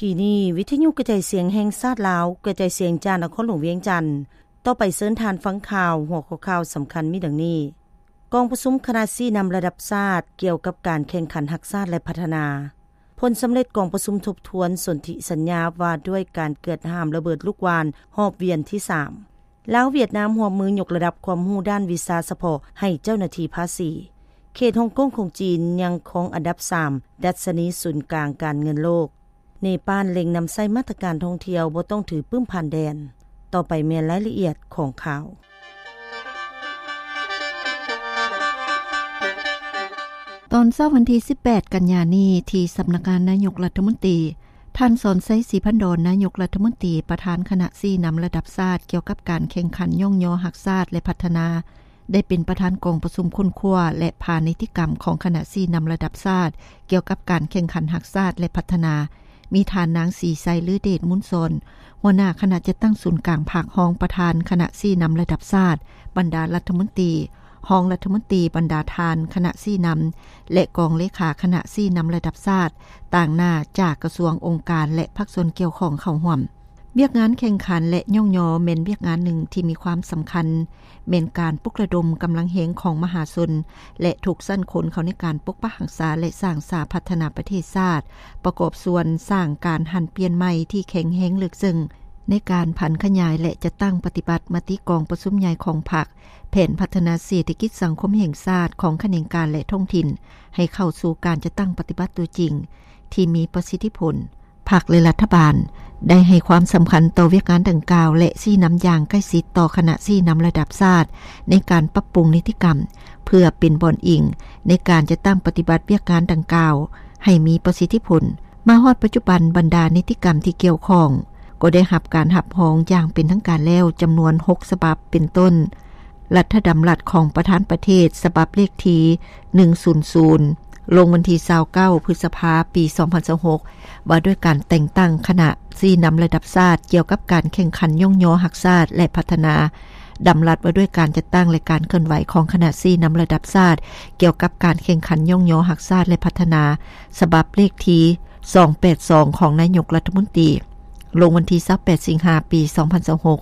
ທີ່ນີ້ ວິທະຍຸກະຈາຍສຽງແຫ່ງຊາດລາວ ກະຈາຍສຽງຈາກນະຄອນຫຼວງວຽງຈັນ. ຕໍ່ໄປເຊີນທ່ານຟັງຂ່າວ, ຫົວຂໍ້ຂ່າວສຳຄັນມີດັ່ງນີ້: ກອງປະຊຸມຄະນະຊີ້ນຳລະດັບຊາດກ່ຽວກັບການແຂ່ງຂັນຮັກຊາດ ແລະ ພັດທະນາ. ຜົນສຳເລັດກອງປະຊຸມທົບທວນສົນທິສັນຍາວ່າດ້ວຍການເກືອດຫ້າມລະເບີດລູກຫວ່ານຮອບວຽນທີສາມ. ລາວຫວຽດນາມຮ່ວມມືຍົກລະດັບຄວາມຮູ້ດ້ານວິຊາສະເພາະໃຫ້ເຈົ້າໜ້າທີ່ພາສີ. ເຂດຮົງກົງຂອງຈີນຍັງຄົງອັນດັບສາມ ດັດຊະນີສູນກາງການເງິນໂລກ. ເນປານເລັ່ງນຳໃຊ້ມາດຕະການທ່ອງທ່ຽວບໍ່ຕ້ອງຖືປຶ້ມຜ່ານແດນ. ຕໍ່ໄປແມ່ນລາຍລະອຽດຂອງຂ່າວ. ຕອນເຊົ້າວັນທີສິບແປດ ກັນຍານີ້ ທີ່ສຳນັກງານນາຍົກລັດຖະມົນຕີ, ທ່ານ ສອນໄຊ ສີພັນດອນ ນາຍົກລັດຖະມົນຕີ ປະທານຄະນະຊີ້ນຳລະດັບຊາດກ່ຽວກັບການແຂ່ງຂັນຍ້ອງຍໍຮັກຊາດ ແລະ ພັດທະນາ ໄດ້ເປັນປະທານກອງປະຊຸມຄົ້ນຄວ້າ ແລະ ຜ່ານິຕິກຳຂອງຄະນະຊີ້ນຳລະດັບຊາດກ່ຽວກັບການແຂ່ງຂັນຮັກຊາດ ແລະ ພັດທະນາ, ມີທ່ານນາງ ສີໄຊ ລືເດດມູນສອນ ຫົວໜ້າຄະນະຈັດຕັ້ງສູນກາງພັກ, ຮອງປະທານຄະນະຊີ້ນຳລະດັບຊາດ, ບັນດາລັດຖະມົນຕີ, ຮອງລັດຖະມົນຕີ, ບັນດາທ່ານຄະນະຊີ້ນຳ ແລະ ກອງເລຂາຄະນະຊີ້ນຳລະດັບຊາດ, ຕາງໜ້າຈາກກະຊວງ, ອົງການ ແລະ ພາກສ່ວນກ່ຽວຂ້ອງເຂົ້າຮ່ວມ. ວຽກງານແຂ່ງຂັນ ແລະ ຍ້ອງຍໍແມ່ນວຽກງານໜຶ່ງທີ່ມີຄວາມສຳຄັນ, ແມ່ນການປຸກລະດົມກຳລັງແຮງຂອງມະຫາຊົນ ແລະ ທຸກຊັ້ນຄົນເຂົ້າໃນການປົກປັກຮັກສາ ແລະ ສ້າງສາພັດທະນາປະເທດຊາດ, ປະກອບສ່ວນສ້າງການຫັນປ່ຽນໃໝ່ທີ່ແຂງແຮງເລິກເຊິ່ງ ໃນການຜັນຂະຫຍາຍ ແລະ ຈັດຕັ້ງປະຕິບັດມະຕິກອງປະຊຸມໃຫຍ່ຂອງພັກ, ແຜນພັດທະນາເສດຖະກິດສັງຄົມແຫ່ງຊາດຂອງຂະແໜງການ ແລະ ທ້ອງຖິ່ນ ໃຫ້ເຂົ້າສູ່ການຈັດຕັ້ງປະຕິບັດຕົວຈິງທີ່ມີປະສິດທິຜົນ. ພັກ ແລະ ລັດຖະບານໄດ້ໃຫ້ຄວາມສຳຄັນຕໍ່ວຽກງານດັ່ງກ່າວ ແລະ ຊີ້ນຳຢ່າງໃກ້ຊິດຕໍ່ຄະນະຊີ້ນຳລະດັບຊາດໃນການປັບປຸງນິຕິກຳ ເພື່ອເປັນບ່ອນອີງໃນການຈັດຕັ້ງປະຕິບັດວຽກງານດັ່ງກ່າວໃຫ້ມີປະສິດທິຜົນ. ມາຮອດປັດຈຸບັນ, ບັນດານິຕິກຳທີ່ກ່ຽວຂ້ອງກໍໄດ້ຮັບການຮັບຮອງຢ່າງເປັນທາງການແລ້ວຈຳນວນຫົກສະບັບ ເປັນຕົ້ນ ລັດຖະດຳລັດຂອງປະທານປະເທດ ສະບັບເລກທີໜຶ່ງສູນສູນ ລົງວັນທີຊາວເກົ້າ ພຶດສະພາ ປີສອງພັນຊາວຫົກ ວ່າດ້ວຍການແຕ່ງຕັ້ງຄະນະຊີ້ນຳລະດັບຊາດກ່ຽວກັບການແຂ່ງຂັນຍ້ອງຍໍຮັກຊາດ ແລະ ພັດທະນາ, ດຳລັດວ່າດ້ວຍການຈັດຕັ້ງ ແລະ ການເຄື່ອນໄຫວຂອງຄະນະຊີ້ນຳລະດັບຊາດກ່ຽວກັບການແຂ່ງຂັນຍ້ອງຍໍຮັກຊາດ ແລະ ພັດທະນາ ສະບັບເລກທີສອງແປດສອງ ຂອງນາຍົກລັດຖະມົນຕີ ລົງວັນທີຊາວແປດ ສິງຫາ ປີສອງພັນຊາວຫົກ.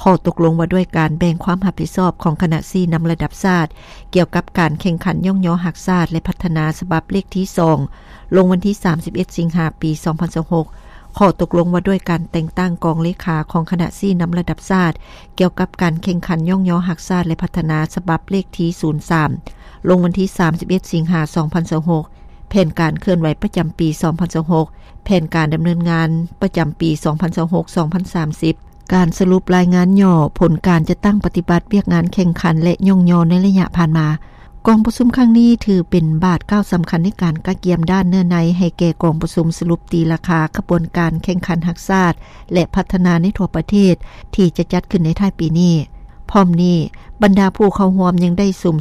ຂໍ້ຕົກລົງວ່າດ້ວຍການແບ່ງຄວາມຮັບຜິດຊອບຂອງຄະນະຊີ້ນຳລະດັບຊາດ ກ່ຽວກັບການແຂ່ງຂັນຍ້ອງຍໍຮັກຊາດ ແລະ ພັດທະນາ ສະບັບເລກທີສອງ ລົງວັນທີສາມສິບເອັດ ສິງຫາ ປີສອງພັນຊາວຫົກ. ຂໍ້ຕົກລົງວ່າດ້ວຍການແຕ່ງຕັ້ງກອງເລຂາຂອງຄະນະຊີ້ນຳລະດັບຊາດ ກ່ຽວກັບການແຂ່ງຂັນຍ້ອງຍໍຮັກຊາດ ແລະ ພັດທະນາ ສະບັບເລກທີສູນສາມ ລົງວັນທີສາມສິບເອັດ ສິງຫາ ສອງພັນຊາວຫົກ. ແຜນການເຄື່ອນໄຫວປະຈຳປີສອງພັນຊາວຫົກ, ແຜນການດຳເນີນງານປະຈຳປີສອງພັນຊາວຫົກ ສອງພັນສາມສິບ, ການສະຫຼຸບລາຍງານຫຍໍ້ຜົນການຈັດຕັ້ງປະຕິບັດວຽກງານແຂ່ງຂັນ ແລະ ຍ້ອງຍໍໃນໄລຍະຜ່ານມາ. ກອງປະຊຸມຄັ້ງນີ້ຖືເປັນບາດກ້າວສຳຄັນໃນການກະກຽມດ້ານເນື້ອໃນໃຫ້ແກ່ກອງປະຊຸມສະຫຼຸບຕີລາຄາຂະບວນການແຂ່ງຂັນຮັກຊາດ ແລະ ພັດທະນາໃນທົ່ວປະເທດ ທີ່ຈະຈັດຂຶ້ນໃນທ້າຍປີນີ້. ພ້ອມນີ້, ບັນດາຜູ້ເຂົ້າຮ່ວມຍັງໄດ້ສຸມ